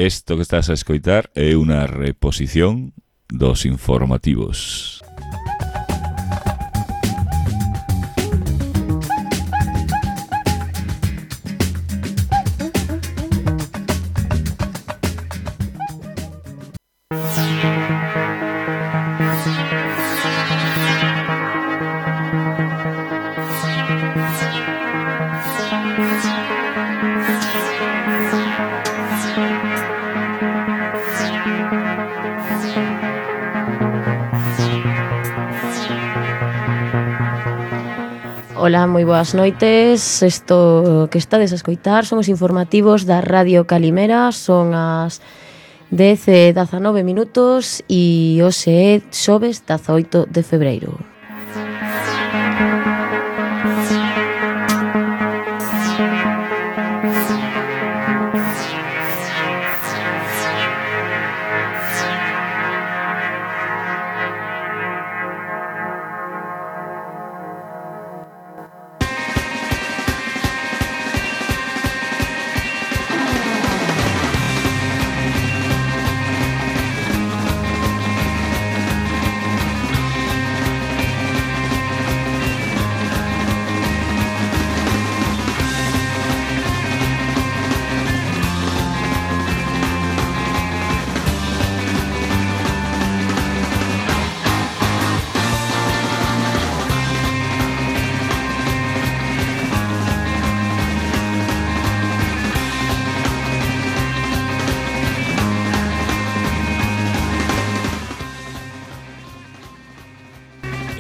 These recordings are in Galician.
Isto que estás a escoitar é unha reposición dos informativos. Ola, moi boas noites. Isto que estades a escoitar son os informativos da Radio Calimera. Son as 10:19 minutos e hoxe é xoves 18 de febreiro.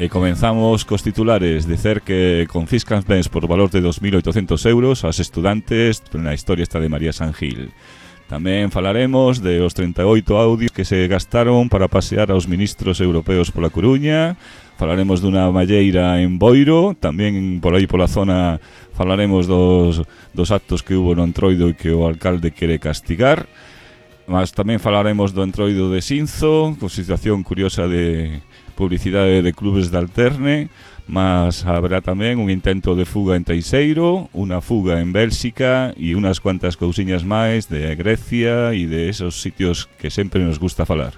E comenzamos cos titulares. Dicer que confiscan bens por valor de 2.800 euros aos estudantes na historia esta de María San Gil. Tamén falaremos de os 38 audios que se gastaron para pasear aos ministros europeos pola Coruña. Falaremos dunha malleira en Boiro. Tamén por aí pola zona falaremos dos actos que hubo no Entroido e que o alcalde quere castigar. Mas tamén falaremos do Entroido de Sinzo, con situación curiosa de publicidade de clubes de alterne, mas habrá tamén un intento de fuga en Teixeiro, unha fuga en Bélxica e unhas cuantas cousiñas máis de Grecia e de esos sitios que sempre nos gusta falar.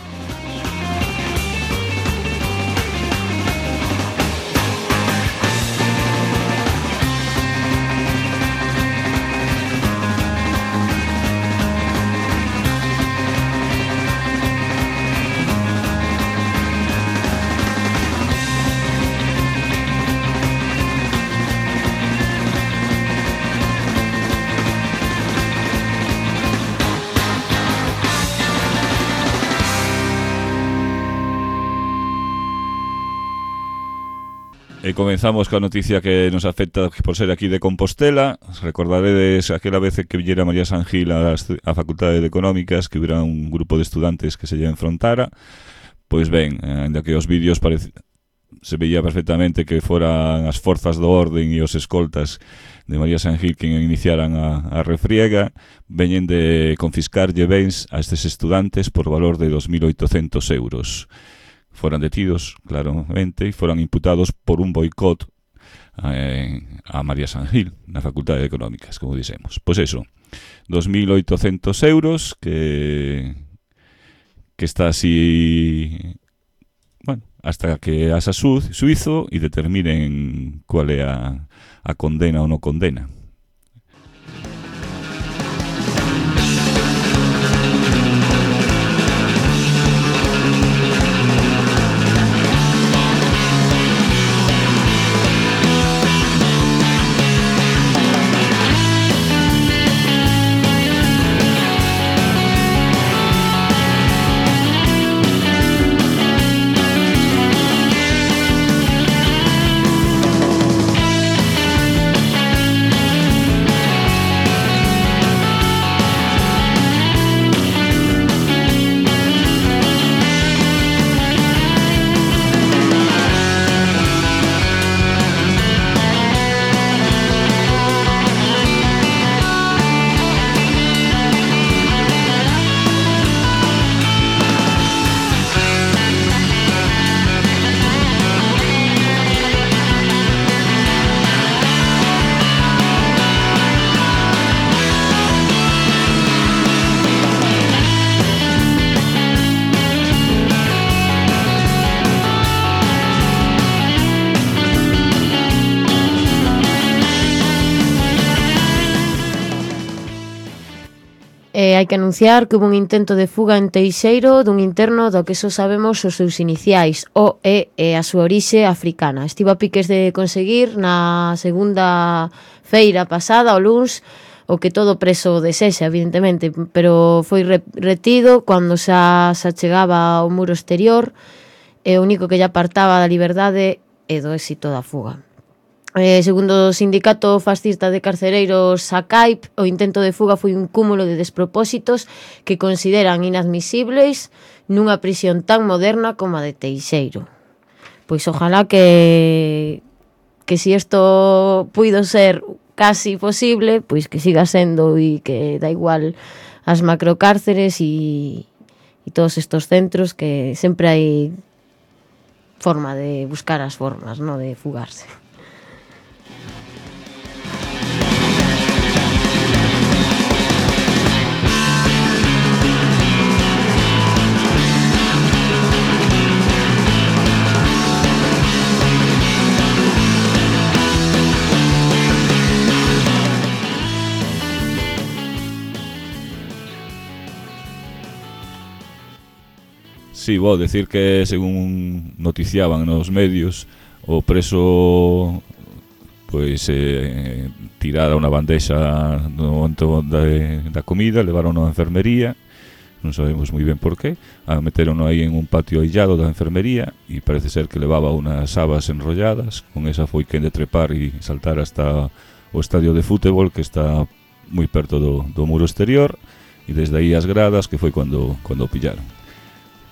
E comenzamos coa noticia que nos afecta por ser aquí de Compostela. Recordaredes aquela vez que villera María San Gil a Facultade de Económicas, que hubiera un grupo de estudantes que se lle enfrontara. Pois ben, ainda que os vídeos se veía perfectamente que foran as forzas do orden e os escoltas de María San Gil quen iniciaran a refriega, veñen de confiscarlle bens a estes estudantes por valor de 2.800 euros. Foran detidos, claramente, e foran imputados por un boicot a María San Gil na Facultade de Económicas, como dixemos. Pois eso, 2.800 euros que está así, bueno, hasta que asa suizo e determinen cual é a condena ou non condena. hai que anunciar que hubo un intento de fuga en Teixeiro dun interno do que só sabemos os seus iniciais, o e a súa orixe africana. Estivo a piques de conseguir na segunda feira pasada, o luns, o que todo preso desexa, evidentemente, pero foi retido cando xa chegaba ao muro exterior, e o único que lle apartaba da liberdade e do éxito da fuga. Segundo o sindicato fascista de carcereiros SACAIP, o intento de fuga foi un cúmulo de despropósitos que consideran inadmisibles nunha prisión tan moderna como a de Teixeiro. Pois ojalá que si isto puido ser casi posible, pois que siga sendo e que da igual as macrocárceres e todos estos centros, que sempre hai forma de buscar as formas, no, de fugarse. Sí, vou decir que, según noticiaban nos medios, o preso pois tirara unha bandexa no momento da comida, levaron á enfermería, non sabemos moi ben por qué, meteron aí en un patio aillado da enfermería e parece ser que levaba unas sabas enrolladas. Con esa foi quen de trepar e saltar hasta o estadio de fútbol, que está moi perto do muro exterior, e desde aí as gradas, que foi cando o pillaron.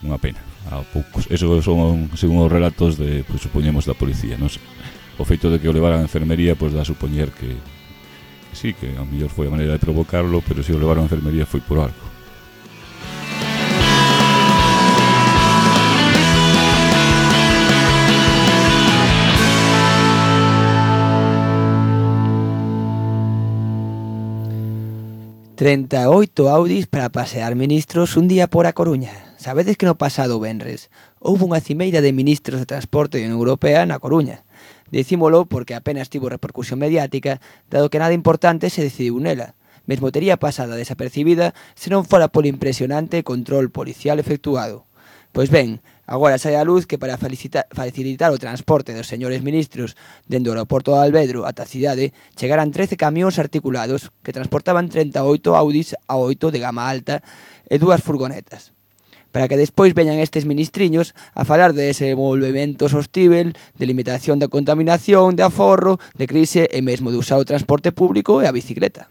Unha pena, a poucos. Eso son, según os relatos de, pues, supoñemos, da policía, non? O feito de que o levaran a enfermería, pois dá a supoñer que sí, que a mellor foi a maneira de provocarlo, pero se o levaron a enfermería foi por algo. ...38 Audis para pasear ministros un día por A Coruña. Sabedes que no pasado venres houve unha cimeira de ministros de transporte da Unión Europea na Coruña. Dicímolo porque apenas tivo repercusión mediática, dado que nada importante se decidiu nela. Mesmo tería pasada desapercibida se non fora polo impresionante control policial efectuado. Pois ben, agora sai a luz que para facilitar o transporte dos señores ministros dende o aeroporto de Alvedro ata a cidade, chegaran 13 camións articulados que transportaban 38 Audis A8 de gama alta e 2 furgonetas. Para que despois veñan estes ministriños a falar de desenvolvemento sostíbel, de limitación da contaminación, de aforro, de crise e mesmo de usar o transporte público e a bicicleta.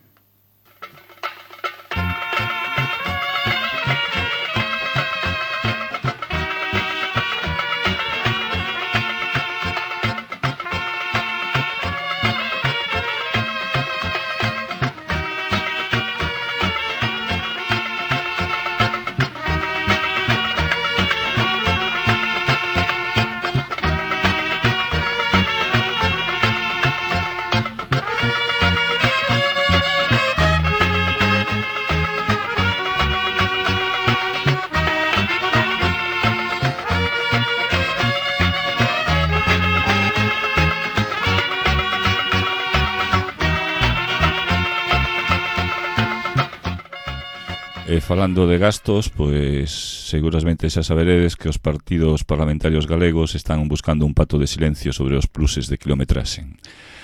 Falando de gastos, pois seguramente xa saberedes que os partidos parlamentarios galegos están buscando un pacto de silencio sobre os pluses de quilometraxe.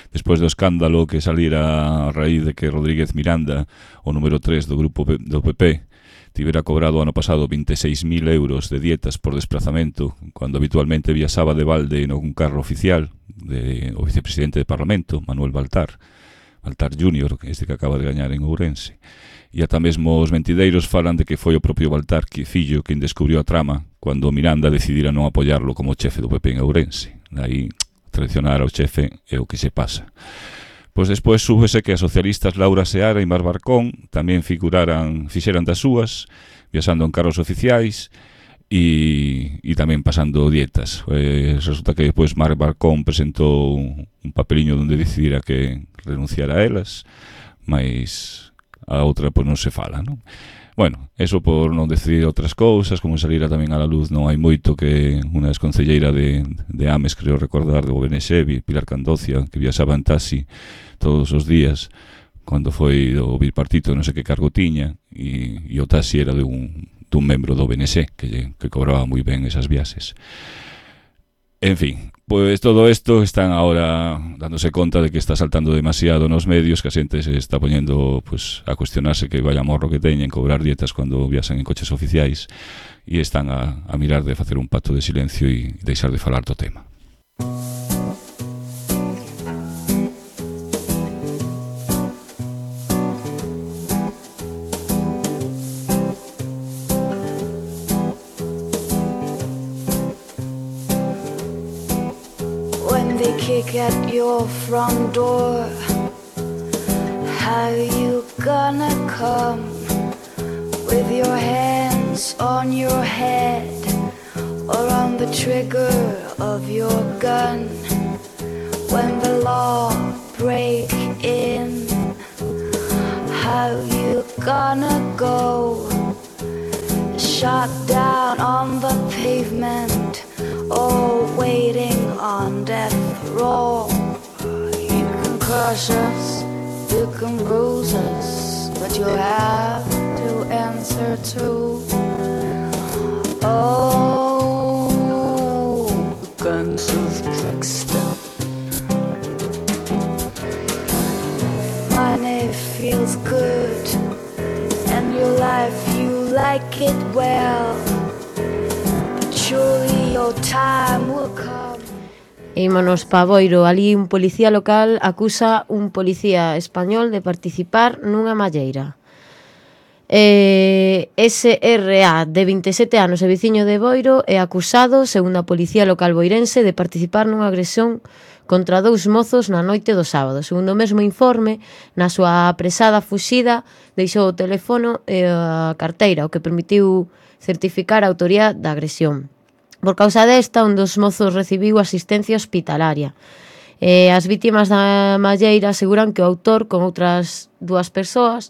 Despois do escándalo que salira a raíz de que Rodríguez Miranda, o número 3 do grupo do PP, tivera cobrado ano pasado 26.000 euros de dietas por desplazamento, cando habitualmente viaxaba de balde nun carro oficial o vicepresidente de Parlamento, Manuel Baltar Júnior, este que acaba de gañar en Ourense. E ata mesmo os mentideiros falan de que foi o propio Baltar fillo quen descubriu a trama cando Miranda decidira non apoiarlo como chefe do PP en Ourense. Daí, traicionar ao chefe é o que se pasa. Pois despois súbese que as socialistas Laura Seara e Mar Barcón tamén fixeran das súas, viaxando en carros oficiais e tamén pasando dietas. Resulta que despois Mar Barcón presentou un papeliño onde decidira que renunciara a elas, mas a outra pois non se fala, non? Bueno, eso por non decidir outras cousas, como salira tamén a la luz non hai moito que unha desconcelleira de Ames, creo recordar, do BNX, Pilar Candocia, que viaxaba en taxi todos os días cando foi do bipartito, non sei que cargo tiña, e o taxi era dun membro do BNC que cobraba moi ben esas viaxes. En fin, pues todo esto están ahora dándose conta de que está saltando demasiado nos medios, que a xente se está poñendo pues, a cuestionarse que vaya morro que teñen cobrar dietas cando viaxan en coches oficiais, e están a mirar de facer un pacto de silencio e deixar de falar do tema. Kick at your front door. How you gonna come with your hands on your head or on the trigger of your gun? When the law break in, how you gonna go? Shot down on the pavement or waiting on death row. You can crush us, you can bruise us, but you'll have to answer to guns of trickster. Money feels good, and your life you like it well, but surely your time will come. Ímonos pa Boiro, ali un policía local acusa un policía español de participar nunha malleira. SRA, de 27 anos e veciño de Boiro, é acusado, segundo a policía local boirense, de participar nunha agresión contra dous mozos na noite do sábado. Segundo o mesmo informe, na súa apresada fuxida, deixou o teléfono e a carteira, o que permitiu certificar a autoría da agresión. Por causa desta, un dos mozos recibiu asistencia hospitalaria. As vítimas da malleira aseguran que o autor, con outras dúas persoas,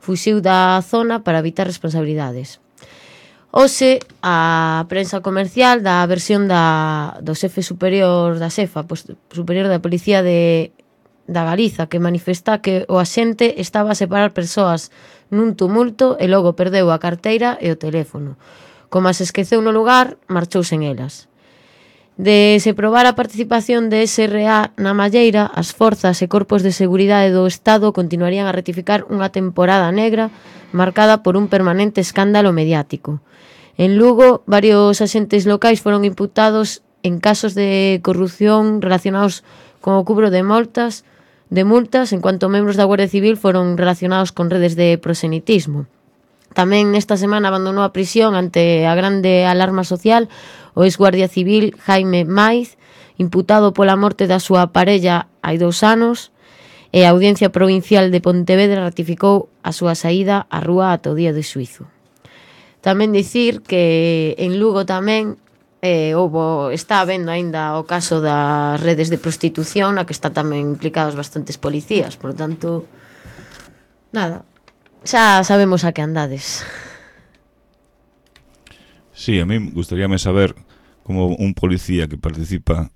fuxiu da zona para evitar responsabilidades. Hoxe, a prensa comercial dá a versión do xefe superior da XEFA, superior da Policía da Galiza, que manifesta que o axente estaba a separar persoas nun tumulto e logo perdeu a carteira e o teléfono. Como as esqueceu no lugar, marchou sen elas. De se probar a participación de SRA na malleira, as forzas e corpos de seguridade do Estado continuarían a rectificar unha temporada negra marcada por un permanente escándalo mediático. En Lugo, varios axentes locais foron imputados en casos de corrupción relacionados con o cubro de multas, en cuanto membros da Guardia Civil foron relacionados con redes de prosenitismo. Tamén nesta semana abandonou a prisión ante a grande alarma social o ex-guardia civil Jaime Maiz, imputado pola morte da súa parella hai 2 anos, e a Audiencia Provincial de Pontevedra ratificou a súa saída á rúa ata o día do xuízo. Tamén dicir que en Lugo tamén está habendo aínda o caso das redes de prostitución, na que está tamén implicados bastantes policías, por tanto, nada. Xa sabemos a que andades. Sí, a mí gustaríame saber como un policía que participa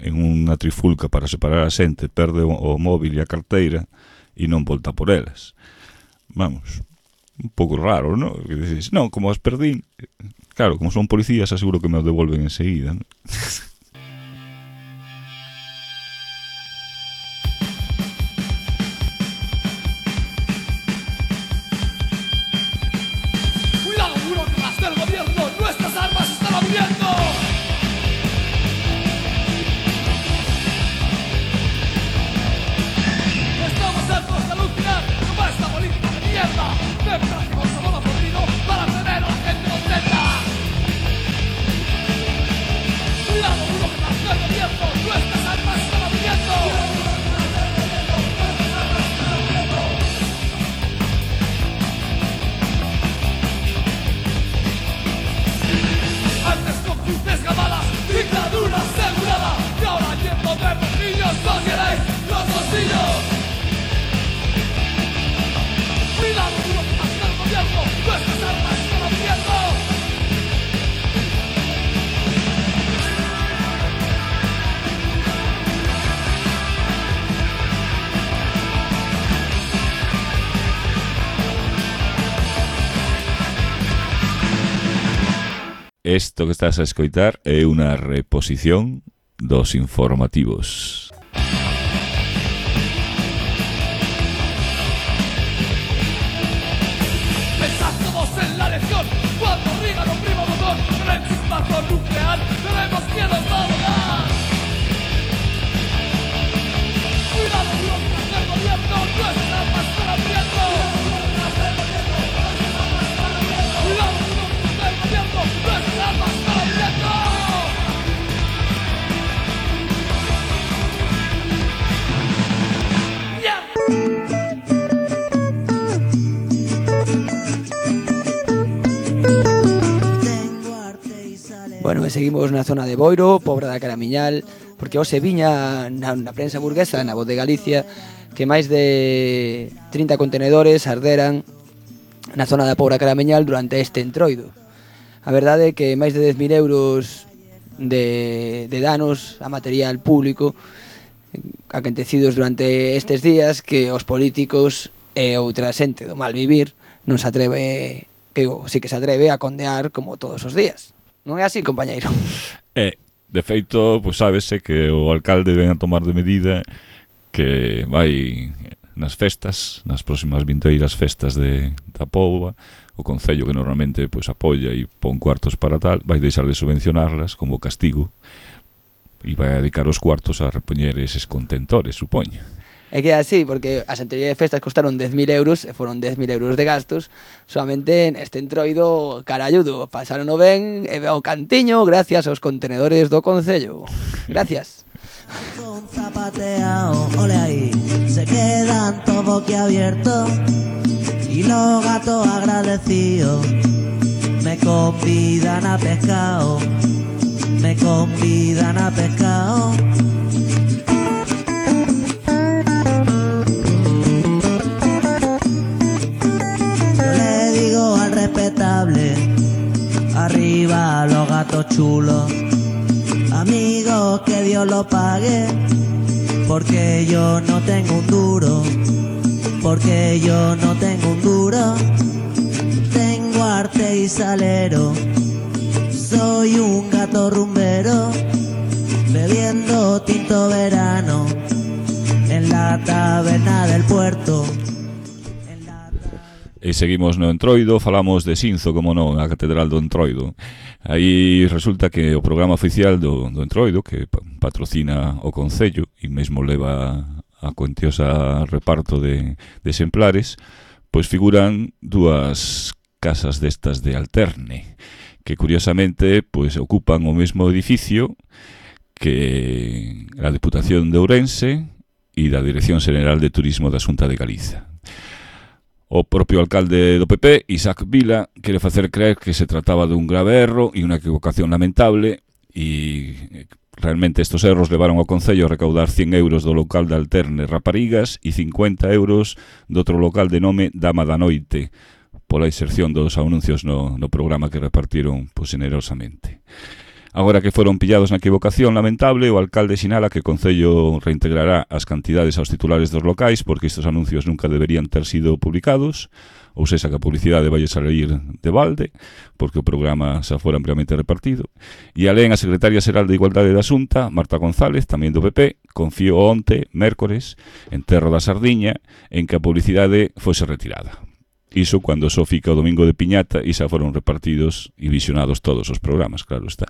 en unha trifulca para separar a xente perde o móvil e a carteira e non volta por elas. Vamos, un pouco raro, non? Que dices, non, como as perdín. Claro, como son policías, aseguro que me o devolven enseguida, non? Cuidado. Isto que estás a escoitar é unha reposición dos informativos. Pensamos en la lección cuando arriba no prima botón en el chispazo nuclear tenemos miedo a volar. Cuidado con el gobierno, no está más para prieto. Cuidado con el gobierno, no está más para prieto. Bueno, e seguimos na zona de Boiro, Pobra da Caramiñal, porque hoxe viña na prensa burguesa, na Voz de Galicia, que máis de 30 contenedores arderan na zona da Pobra Caramiñal durante este entroido. A verdade é que máis de 10.000 euros de danos a material público acontecidos durante estes días que os políticos e outra xente do mal vivir non se atreve, que sí que se atreve a condear como todos os días. Non é así, compañeiro? De feito, pois sábese que o alcalde ven a tomar de medida que vai nas festas, nas próximas vinteiras festas da Póvoa, o Concello que normalmente pois apoia e pon cuartos para tal, vai deixar de subvencionarlas como castigo e vai a dedicar os cuartos a repoñer eses contentores, supoño. É que é así, porque as anteriores festas costaron 10.000 euros e foron 10.000 euros de gastos. Solamente neste entroido caralludo pasaron o ben e o cantiño gracias aos contenedores do Concello. Gracias. Con zapateao, ole ahí, se quedan todo boquiabiertos y los gatos agradecidos me convidan a pescado, me convidan a pescado. Respetable, arriba los gatos chulos, amigos que Dios lo pague, porque yo no tengo un duro, porque yo no tengo un duro, tengo arte y salero, soy un gato rumbero, bebiendo tinto verano, en la taberna del puerto. E seguimos no Entroido, falamos de Sinzo, como non, a Catedral do Entroido. Aí resulta que o programa oficial do Entroido, que patrocina o Concello e mesmo leva a cuantiosa reparto de exemplares, pois figuran dúas casas destas de alterne, que curiosamente pois ocupan o mesmo edificio que a Deputación de Ourense e da Dirección Xeneral de Turismo da Xunta de Galiza. O propio alcalde do PP, Isaac Vila, quere facer creer que se trataba dun grave erro e unha equivocación lamentable e realmente estos erros levaron ao Concello a recaudar 100 euros do local de Alterne Raparigas e 50 euros do outro local de nome Dama da Noite pola inserción dos anuncios no programa que repartiron generosamente. Agora que foron pillados na equivocación lamentable, o alcalde sinala que o Concello reintegrará as cantidades aos titulares dos locais porque estes anuncios nunca deberían ter sido publicados, ou seja, que a publicidade vai salir de balde, porque o programa xa fora ampliamente repartido. E alén a secretaria xeral de Igualdade da Xunta, Marta González, tamén do PP, confiou onte, mércores, en Terro da Sardiña, en que a publicidade fose retirada. Iso cando só fica o domingo de Piñata e xa foron repartidos e visionados todos os programas, claro está.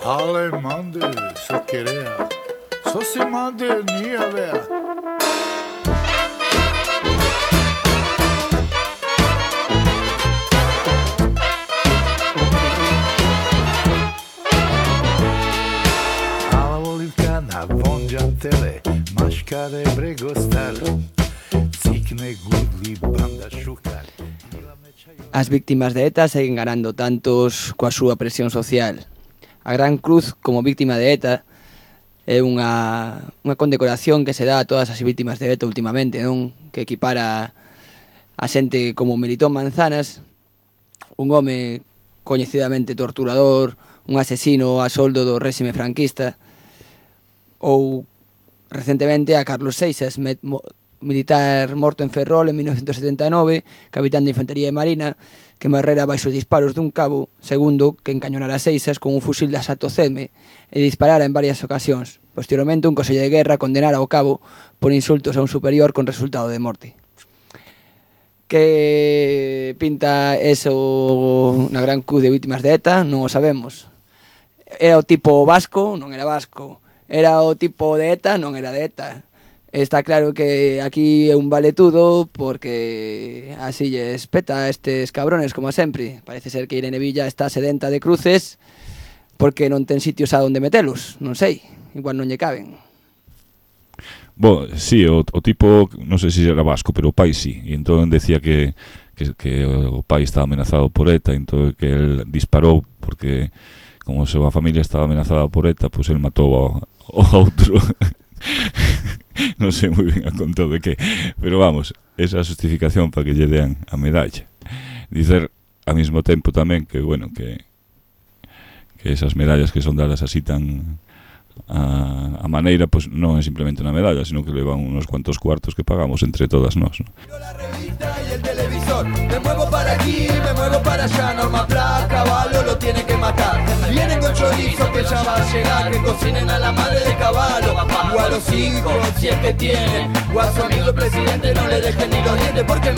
Ale mande, så querea, så se mande nya vea. Ala volivka na vonđantele, maškare bregostale, cikne gudli banda šukale. As víctimas de ETA seguen ganando tantos coa súa presión social. A Gran Cruz, como víctima de ETA, é unha condecoración que se dá a todas as víctimas de ETA últimamente, non? Que equipara a xente como Melitón Manzanas, un home coñecidamente torturador, un asesino a soldo do réxime franquista, ou recentemente a Carlos Seixas, militar morto en Ferrol en 1979, capitán de Infantería de Marina, que morrera baixo os disparos dun cabo, segundo que encañonara Seixas con un fusil de asalto CM e disparara en varias ocasións. Posteriormente, un consello de guerra condenara ao cabo por insultos a un superior con resultado de morte. Que pinta eso na gran cruz de vítimas de ETA, non o sabemos. Era o tipo vasco, non era vasco. Era o tipo de ETA, non era de ETA. Está claro que aquí é un valetudo porque así lles peta a estes cabrones como sempre. Parece ser que Irene Villa está sedenta de cruces porque non ten sitios a onde metelos, non sei, igual non lle caben. Bo, sí, o tipo, non sei se era vasco, pero o pai sí, e entón decía que o pai estaba amenazado por ETA, entón que el disparou porque como a súa familia estaba amenazada por ETA, pois el matou ao outro. Non sei moi ben a conto de que, pero vamos, esa justificación para que lle dean a medalla. Dicer ao mesmo tempo tamén que, bueno, que esas medallas que son dadas así tan a maneira, pues non é simplemente unha medalla, sino que levan unos cuantos cuartos que pagamos entre todas nós, ¿no? La revista y el televisor, me muevo para aquí, me muevo para allá, Norma Pla, Caballo lo tiene que matar. Vienen con chorizo que ya va a llegar, que cocinen a la madre de Caballo, o a los hijos, si es que tienen, o a su amigo el presidente no le dejen ni los dientes, porque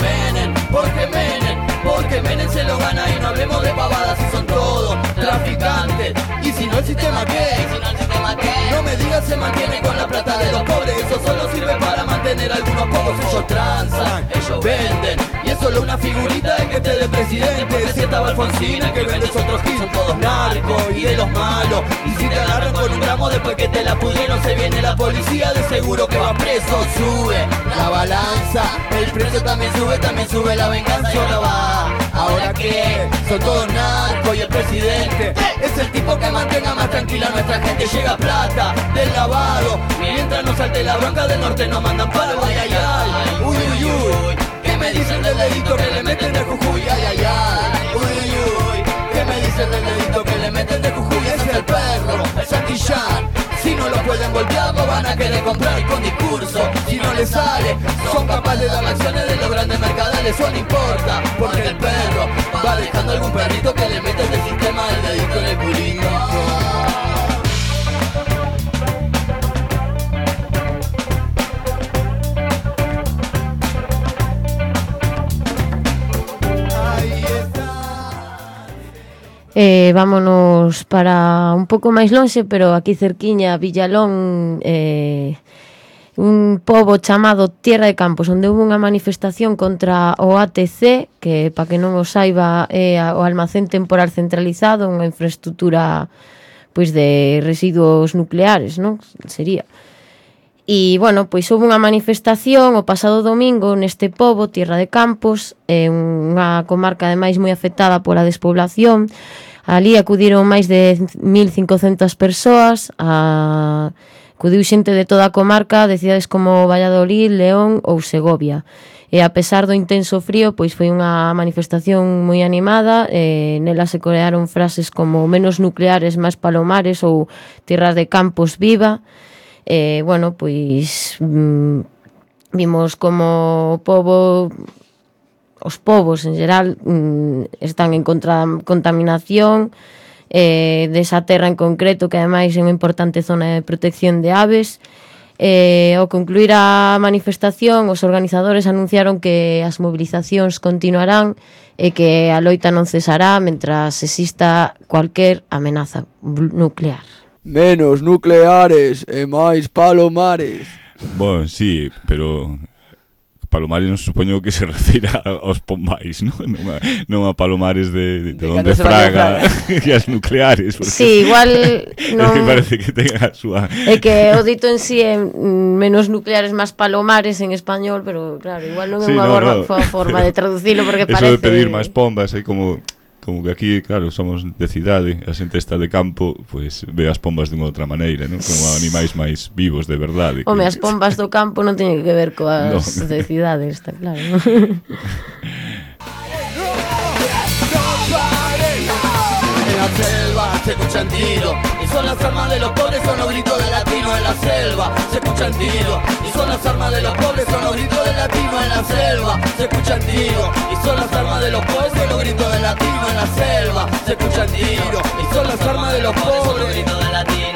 Menem se lo gana y no hablemos de pavadas, si son todos traficantes, y si no el sistema qué, no me digas se mantiene con la plata de los pobres, eso solo sirve para mantener a algunos pocos, ellos transan, ellos venden, y es solo una figurita de que esté de presidente, si estaba Alfonsina que vende otros hits, son todos narcos y de los malos, y si te agarran con un gramo después que te la pudieron, se viene la policía, de seguro que va preso, sube la balanza, el precio también sube la venganza y ahora va, ahora que son todos narcos y el presidente es el tipo que mantenga más tranquila a nuestra gente, llega plata del lavado, mientras no salte la bronca del norte nos mandan palo, ay ay ay, uy uy uy, ¿qué me dicen del dedito que le meten de Jujuy? Ay ay ay, uy uy uy, ¿qué me dicen del dedito que le meten de Jujuy? Ese es el perro, el Santillán, si no lo pueden golpear lo van a querer comprar con discurso, si no les sale, son capaces de dar acciones de los grandes mercaderes, eso no importa, porque el perro va dejando algún perrito que le meten del sistema del dedito en el culito. Vámonos para un pouco máis lonxe, pero aquí cerquiña, Villalón, un pobo chamado Tierra de Campos, onde houve unha manifestación contra o ATC, que, para que non o saiba, é o almacén temporal centralizado, unha infraestructura pois de residuos nucleares, non? Sería. E, bueno, pois houve unha manifestación o pasado domingo neste pobo, Tierra de Campos, unha comarca ademais moi afectada pola despoblación. Ali acudiron máis de 1.500 persoas, acudiu xente de toda a comarca, de cidades como Valladolid, León ou Segovia. E a pesar do intenso frío, pois foi unha manifestación moi animada, nela se corearon frases como menos nucleares, máis palomares ou Tierra de Campos viva. Bueno, pois vimos como o pobo, os povos en geral están en contra da contaminación desa terra en concreto, que ademais é unha importante zona de protección de aves. Ao concluir a manifestación, os organizadores anunciaron que as movilizacións continuarán e que a loita non cesará mentras exista cualquier amenaza nuclear. Menos nucleares e máis palomares. Bueno, sí, pero palomares non supoño que se refira aos pombais, non a palomares de onde fraga e as nucleares. Sí, igual non... Me parece que tenga a súa... É que o dito en sí é menos nucleares, máis palomares en español, pero claro, igual non é unha forma de traducilo, porque parece... Eso de pedir máis pombas, é como que aquí, claro, somos de cidade, a xente está de campo, pois ve as pombas de unha outra maneira, non? Como animais máis vivos de verdade. Home, as pombas do campo non teñen que ver coas de cidade, está claro, non? En la selva se escucha escuchan tiros. Y son las armas de los pobres, son los gritos de latinos en la selva. Se escuchan tiros. Y son las armas de los pobres, son los gritos de latinos en la selva. Se escuchan tiros. Y son las armas de los pobres, son los gritos de latinos en la selva. Se escuchan tiros. Y son las armas de los pobres, son los gritos de latinos.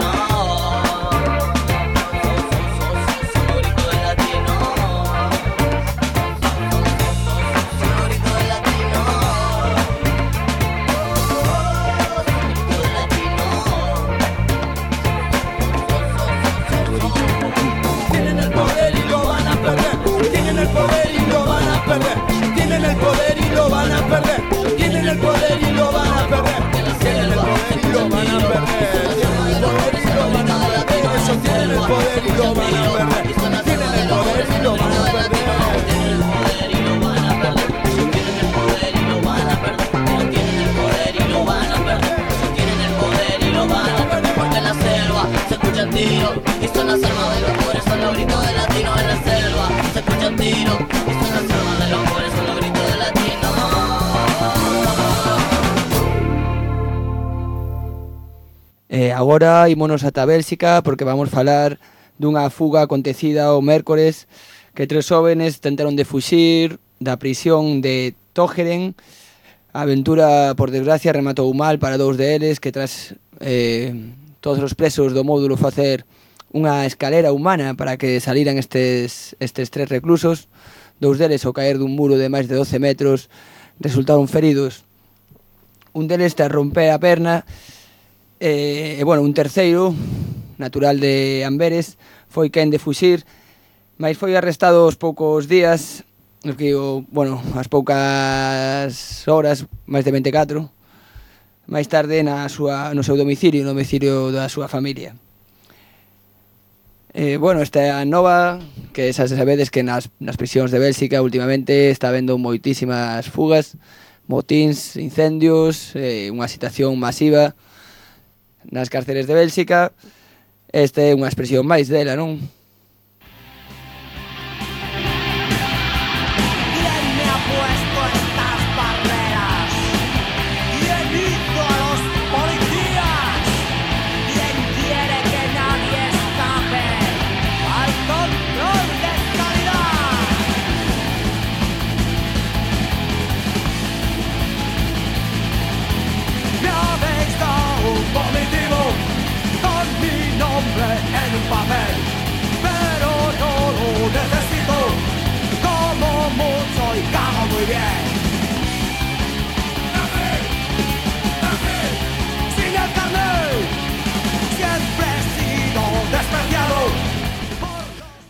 Tienen el poder y lo van a perder. Tienen el poder y lo van a perder. Tienen el poder y lo van a perder. Tienen el poder y lo van a perder. Eso tienen el poder y lo van a perder. Tienen el poder y lo van a perder. Tienen el poder y lo van a perder. Tienen el poder y lo van a perder. Tienen el poder y lo van a perder. Tienen el poder y lo van a perder. Porque en la selva se escuchan tiros y son las armas de los pobres, son los gritos de latinos en la selva. Se escuchan tiros y son las armas de los pobres, son los gritos de latinos. Agora ímonos ata Bélxica porque vamos falar dunha fuga acontecida o mércores que 3 jóvenes tentaron de fuxir da prisión de Tógeren. A aventura, por desgracia, rematou mal para 2 deles que tras todos os presos do módulo facer unha escalera humana para que saliran estes 3 reclusos. 2 deles, ao caer dun muro de máis de 12 metros, resultaron feridos. Un deles te romper a perna e, bueno, un terceiro, natural de Amberes, foi quen de fuxir, mas foi arrestado aos poucos días, bueno, as poucas horas, máis de 24, máis tarde no seu domicilio, no domicilio da súa familia. Bueno, esta nova, que xa sabedes que nas prisións de Bélxica últimamente está habendo moitísimas fugas, motíns, incendios, unha situación masiva nas cárceles de Bélxica. Esta é unha expresión máis dela, non? En un papel, pero no lo necesito, como mucho y cago muy bien. Sin el carnet, siempre he sido despreciado.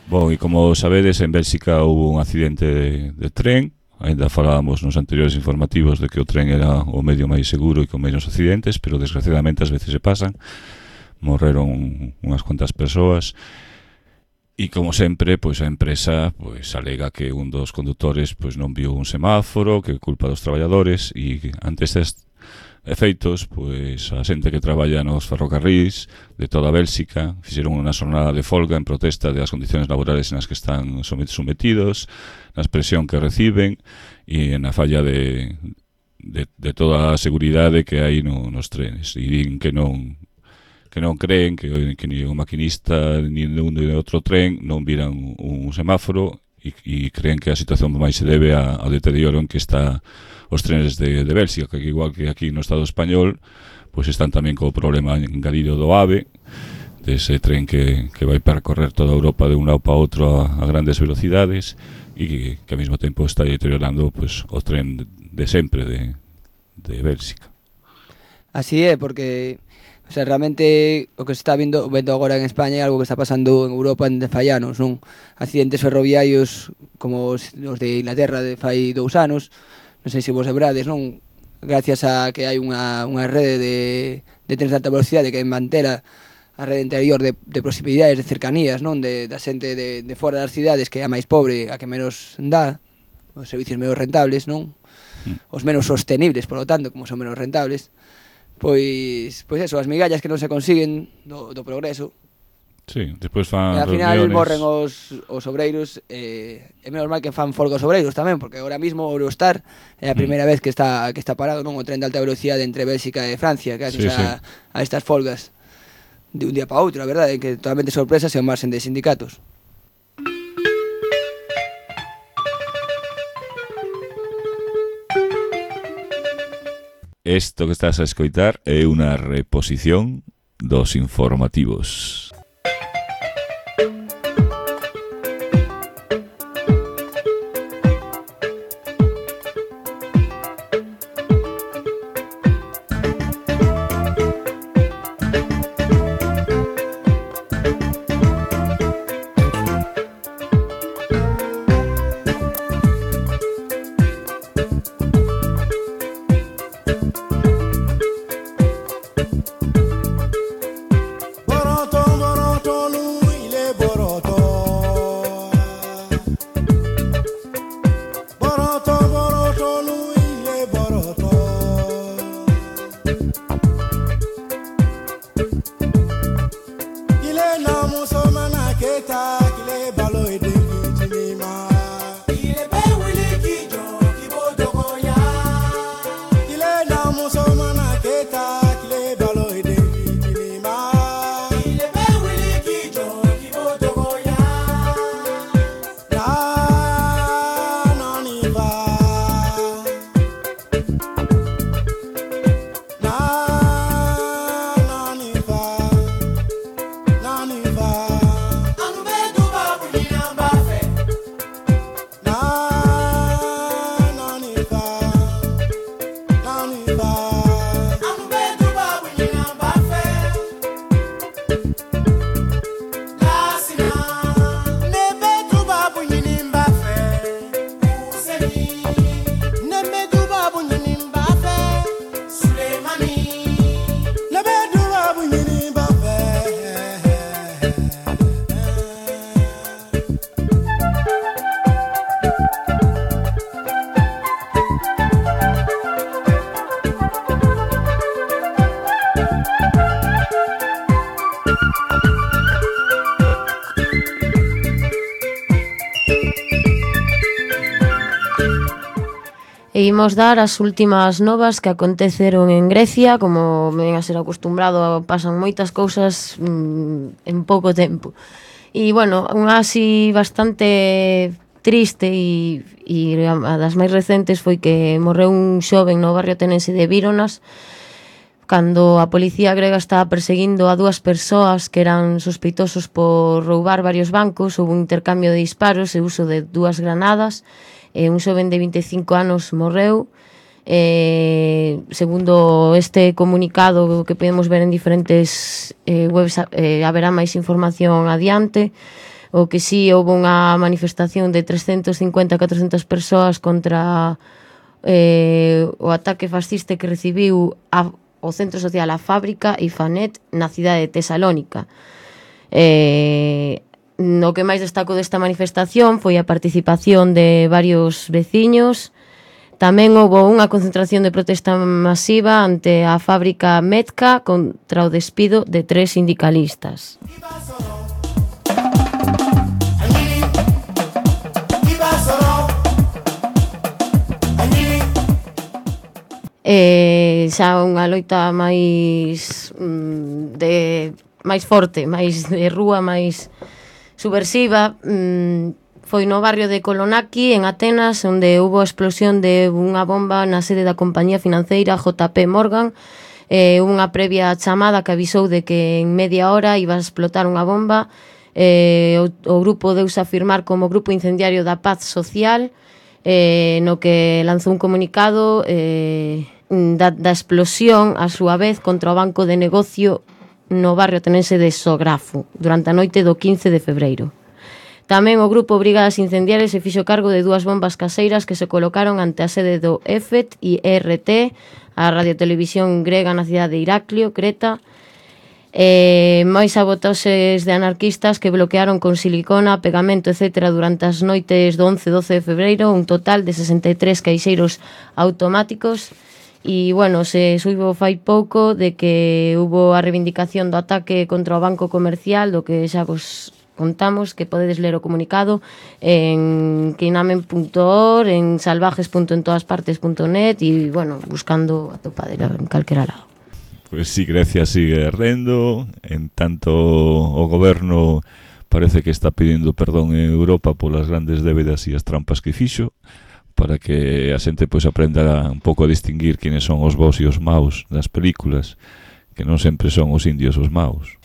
Bon, e como sabedes, en Bélxica hubo un accidente de tren. Ainda falábamos nos anteriores informativos de que o tren era o medio máis seguro e con menos accidentes, pero desgraciadamente ás veces se pasan. Morreron unhas cuantas persoas e, como sempre, pois a empresa pois alega que un dos condutores pois non viu un semáforo, que é culpa dos traballadores, e ante estes efeitos, pois a xente que traballa nos ferrocarrís de toda Bélxica fixeron unha xornada de folga en protesta das condicións laborales nas que están sometidos, na presión que reciben e na falla de toda a seguridade que hai nos trenes, e din que non creen que ni o maquinista ni un de outro tren non viran un semáforo e creen que a situación máis se debe ao deterioro en que está os trenes de Bélxica, que igual que aquí no Estado español, pois están tamén co problema engadido do AVE, dese tren que vai percorrer toda Europa de un lado para outro a grandes velocidades e que ao mesmo tempo está deteriorando pois o tren de sempre de Bélxica. Así é, porque realmente o que se está vendo agora en España é algo que está pasando en Europa en fallanos, non? Accidentes ferroviarios como os de Inglaterra de fai 2 anos, non sei se vos lembrades, non? Gracias a que hai unha rede de trens de alta velocidade que mantera a rede interior de proximidades, de cercanías, non? Da xente de fora das cidades, que é a máis pobre, a que menos dá, os servicios menos rentables, non? Os menos sostenibles, por lo tanto, como son menos rentables. Pois eso, as migallas que non se consiguen do progreso. Sí, despois fan E ao final reuniones. morren os obreiros, é menos mal que fan folga os obreiros tamén, porque agora mismo o Eurostar é a primeira vez que está parado, non, o tren de alta velocidade entre Bélxica e Francia, que Sí, a estas folgas de un día para outro, a verdade, que totalmente sorpresas e ao marxen de sindicatos. Esto que estás a escoitar é unha reposición dos informativos. E imos dar as últimas novas que aconteceron en Grecia. Como ven a ser acostumbrado, pasan moitas cousas en pouco tempo. E, bueno, unha así bastante triste e a das máis recentes foi que morreu un xoven no barrio ateniense de Víronas cando a policía grega estaba perseguindo a dúas persoas que eran sospeitosos por roubar varios bancos. Houve un intercambio de disparos e uso de dúas granadas. Un xoven de 25 anos morreu. Segundo este comunicado que podemos ver en diferentes webs, haberá máis información adiante. O que sí, houve unha manifestación de 350-400 persoas contra o ataque fascista que recibiu o centro social A Fábrica e Fanet na cidade de Tesalónica. No que máis destaco desta manifestación foi a participación de varios veciños. Tamén houve unha concentración de protesta masiva ante a fábrica Metka contra o despido de 3 sindicalistas. Xa unha loita máis máis forte, máis de rúa, máis subversiva, foi no barrio de Kolonaki, en Atenas, onde houve a explosión de unha bomba na sede da compañía financeira JP Morgan. Unha previa chamada que avisou de que en media hora iba a explotar unha bomba. O grupo deuse a afirmar como Grupo Incendiario da Paz Social, no que lanzou un comunicado da explosión a súa vez contra o banco de negocio no barrio ateniense de Sografo durante a noite do 15 de febreiro. Tamén o grupo Brigadas Incendiarias se fixo cargo de 2 bombas caseiras que se colocaron ante a sede do EFET e RT, a radiotelevisión grega na cidade de Iraklio, Creta. Máis sabotoses de anarquistas que bloquearon con silicona, pegamento, etc. durante as noites do 11 e 12 de febreiro, un total de 63 caixeiros automáticos. E, bueno, se suivo fai pouco de que hubo a reivindicación do ataque contra o Banco Comercial, do que xa vos contamos, que podedes ler o comunicado en queinamen.org, en salvajes.entoaspartes.net e, bueno, buscando a topadera en calquera lado. Pues sí, Grecia sigue ardendo, en tanto o goberno parece que está pidindo perdón en Europa polas grandes débedas e as trampas que fixo, para que a xente pois aprenda un pouco a distinguir quienes son os bons e os maus das películas, que non sempre son os indios os maus.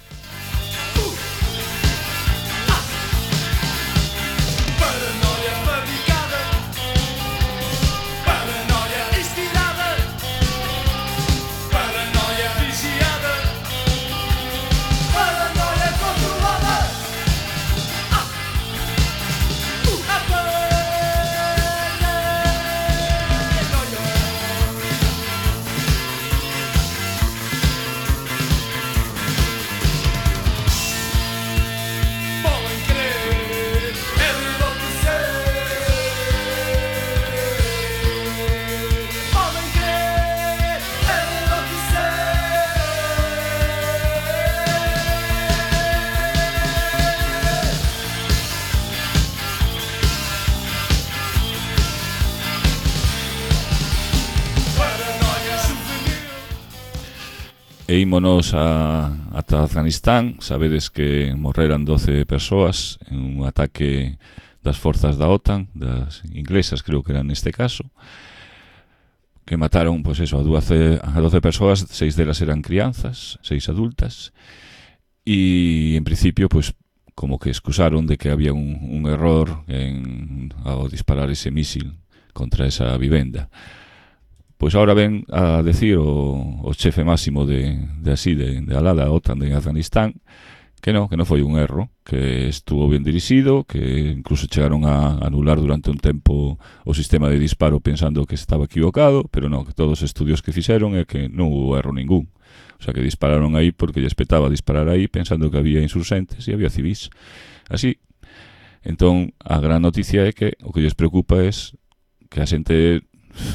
E ímonos ata Afganistán. Sabedes que morreran 12 persoas en un ataque das forzas da OTAN, das inglesas creo que eran neste caso, que mataron, pois eso, a 12 persoas, 6 delas eran crianzas, 6 adultas, e en principio, pois, como que excusaron de que había un error ao disparar ese mísil contra esa vivenda. Pois ahora ven a decir o chefe máximo de alá da OTAN de Afganistán que non foi un erro, que estuvo ben dirixido, que incluso chegaron a anular durante un tempo o sistema de disparo pensando que estaba equivocado, pero non, que todos os estudios que fixeron é que non hubo erro ningún. O sea, que dispararon aí porque lles petaba disparar aí pensando que había insurxentes e había civís. Así, entón, a gran noticia é que o que lles preocupa é que a xente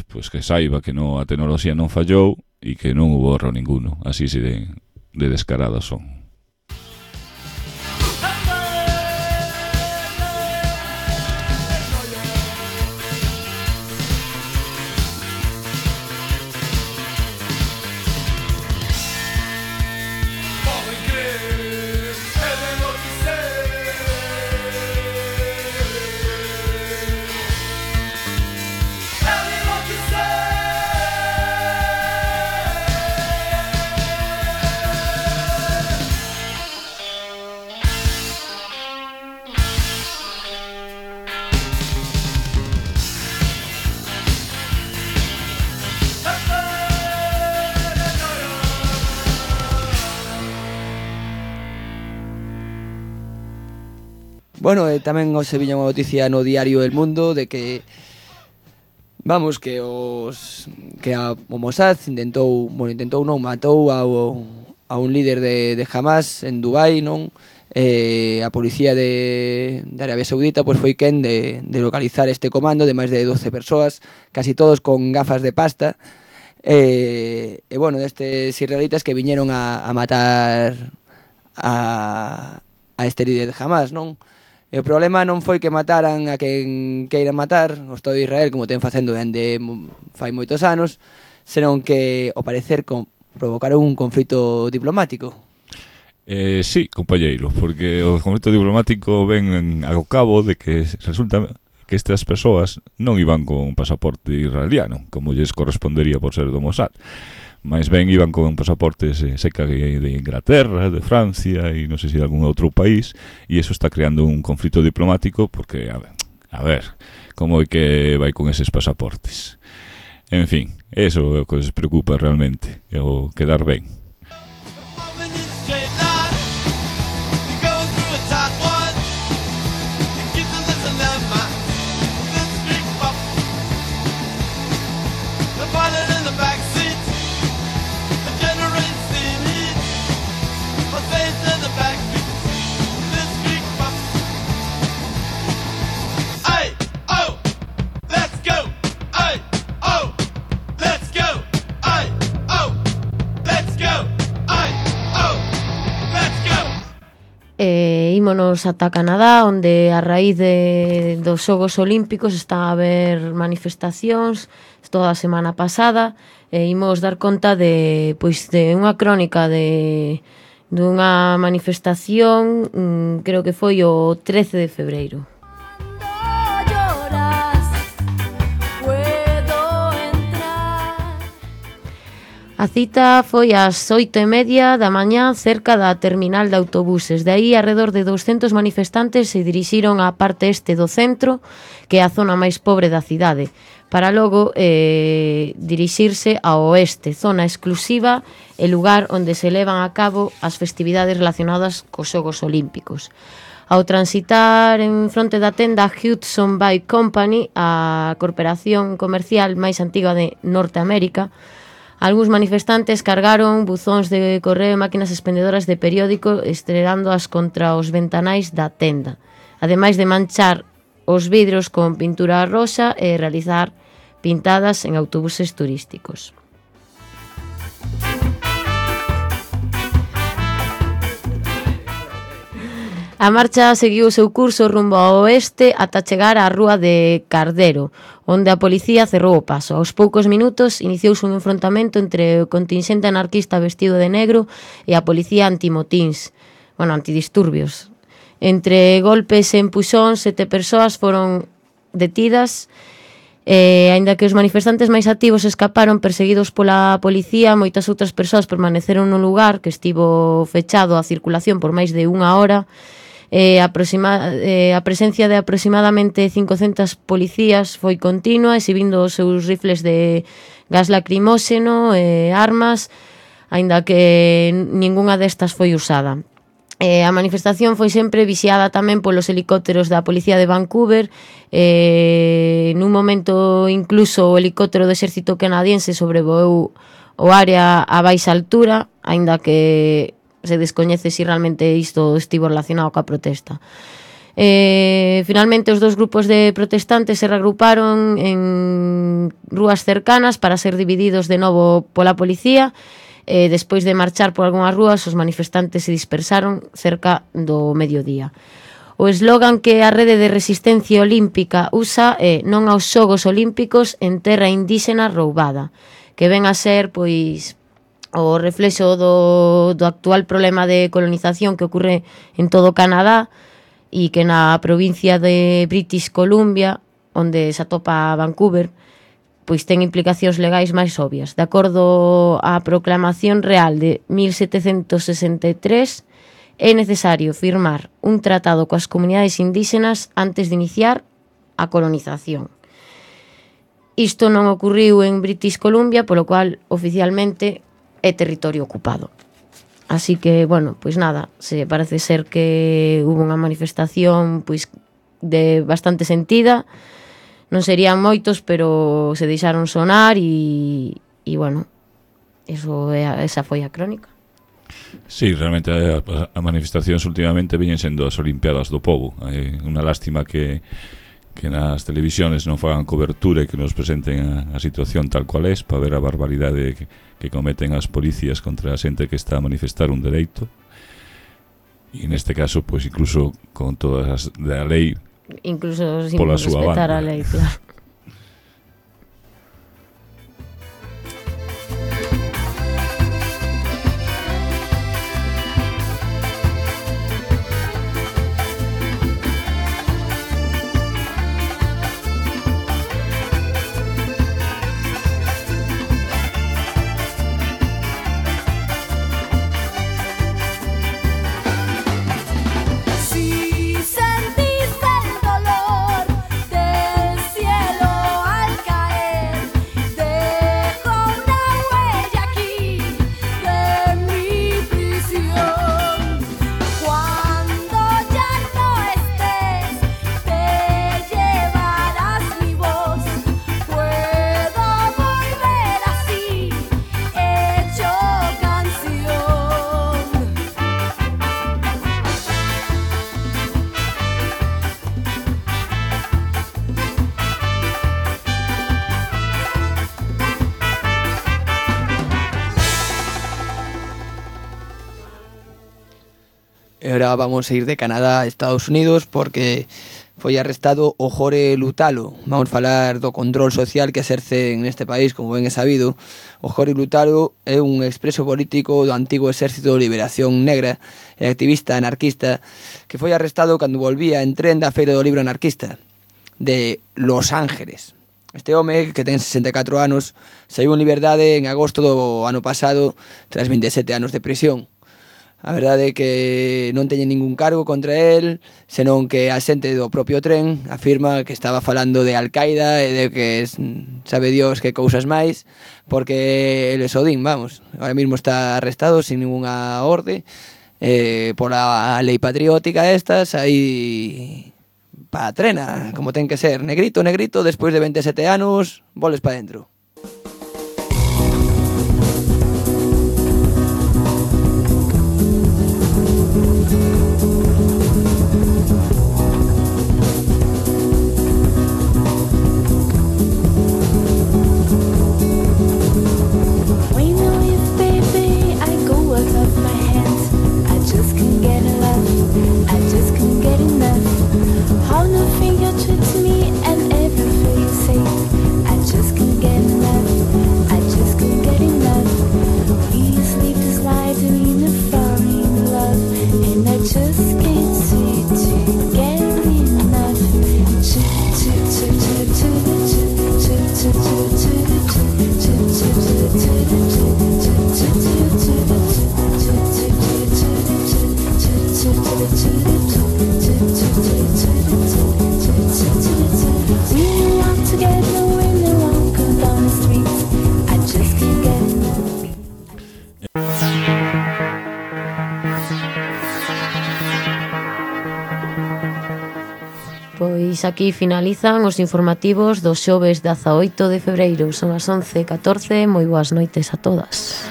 pois que saiba que a tecnoloxía non fallou e que non hubo erro ninguno. Así de descarados son. Bueno, tamén hoxe viña unha noticia no diario El Mundo de que o Mossad matou a un líder de Hamas en Dubai, non? A policía de Arabia Saudita pois foi quen de localizar este comando de máis de 12 persoas, casi todos con gafas de pasta, bueno, destes israelitas que viñeron a matar a este líder de Hamas, non? E o problema non foi que mataran a quen queiran matar, o Estado de Israel, como ten facendo dende fai moitos anos, senón que, ao parecer, provocaron un conflito diplomático. Sí, compañeiro, porque o conflito diplomático ven ao cabo de que resulta que estas persoas non iban con pasaporte israeliano, como lles correspondería por ser do Mossad. Mais ben iban con pasaportes seca de Inglaterra, de Francia e non sei se de algún outro país, e eso está creando un conflito diplomático porque, a ver, como é que vai con eses pasaportes? En fin, eso é o que les preocupa realmente, é o quedar ben. ímonos ata Canadá, onde a raíz dos Xogos Olímpicos está a haber manifestacións toda a semana pasada, e imos dar conta de unha crónica dunha manifestación, creo que foi o 13 de febreiro. A cita foi ás 8:30 da mañá cerca da terminal de autobuses. De aí, arredor de 200 manifestantes se dirixiron á parte este do centro, que é a zona máis pobre da cidade, para logo dirixirse ao oeste, zona exclusiva e lugar onde se levan a cabo as festividades relacionadas cos Xogos Olímpicos. Ao transitar en fronte da tenda Hudson Bay Company, a corporación comercial máis antiga de Norteamérica, algúns manifestantes cargaron buzóns de correo e máquinas expendedoras de periódico estrelándoas contra os ventanais da tenda, ademais de manchar os vidros con pintura rosa e realizar pintadas en autobuses turísticos. A marcha seguiu o seu curso rumbo ao oeste ata chegar á rúa de Cardero, onde a policía cerrou o paso. Aos poucos minutos iniciouse un enfrontamento entre o contingente anarquista vestido de negro e a policía antimotíns, antidisturbios. Entre golpes e empuxóns, 7 persoas foron detidas, aínda que os manifestantes máis activos escaparon perseguidos pola policía, moitas outras persoas permaneceron no lugar que estivo fechado á circulación por máis de unha hora. A presencia de aproximadamente 500 policías foi continua, exhibindo os seus rifles de gas lacrimóxeno e armas, aínda que ningunha destas foi usada. A manifestación foi sempre vixiada tamén polos helicópteros da Policía de Vancouver. Nun momento incluso o helicóptero do exército canadiense sobrevoou o área a baixa altura, aínda que se descoñece se realmente isto estivo relacionado coa protesta. Finalmente, os dous grupos de protestantes se reagruparon en rúas cercanas para ser divididos de novo pola policía. Despois de marchar por algunhas rúas, os manifestantes se dispersaron cerca do mediodía. O eslogan que a Rede de Resistencia Olímpica usa é "Non aos Xogos Olímpicos en terra indíxena roubada", que ven a ser, o reflexo do actual problema de colonización que ocorre en todo Canadá e que na provincia de British Columbia, onde se atopa Vancouver, ten implicacións legais máis obvias. De acordo á Proclamación Real de 1763, é necesario firmar un tratado coas comunidades indígenas antes de iniciar a colonización. Isto non ocorriu en British Columbia, polo cual oficialmente é territorio ocupado. Así que, nada, parece ser que hubo unha manifestación de bastante sentida. Non serían moitos, pero se deixaron sonar e esa foi a crónica. Sí, realmente as manifestacións últimamente veñen sendo as Olimpiadas do Pobo. É unha lástima que nas televisións non fagan cobertura e que nos presenten a situación tal cual é, para ver a barbaridade que cometen as policías contra a xente que está a manifestar un dereito, e neste caso, incluso con todas as da lei, incluso sin pola súa respetar banda. A lei, claro. Si sentís el dolor del cielo E agora vamos a ir de Canadá a Estados Unidos porque foi arrestado o Jorge Lutalo. Vamos falar do control social que exerce neste país, como ben é sabido. O Jorge Lutalo é un expreso político do antigo Exército de Liberación Negra e activista anarquista que foi arrestado cando volvía en tren da Feira do Libro Anarquista de Los Ángeles. Este home, que ten 64 anos, saiu en liberdade en agosto do ano pasado tras 27 anos de prisión. A verdade é que non teñen ningún cargo contra él, senón que a xente do propio tren afirma que estaba falando de Al-Qaeda e de que sabe Dios que cousas máis, porque el esodín, vamos, ahora mismo está arrestado sin ninguna orde, pola lei patriótica estas, aí pa trena, como ten que ser, negrito, despois de 27 anos, voles pa dentro. Pois aquí finalizan os informativos do xoves 18 de febreiro. Son as 11:14. Moi boas noites a todas.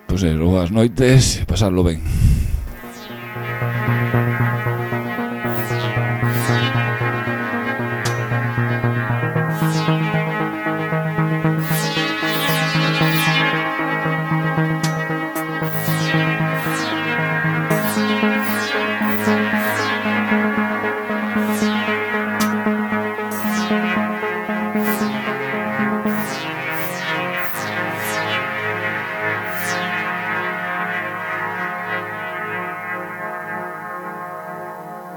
Pois boas noites e pasadlo ben.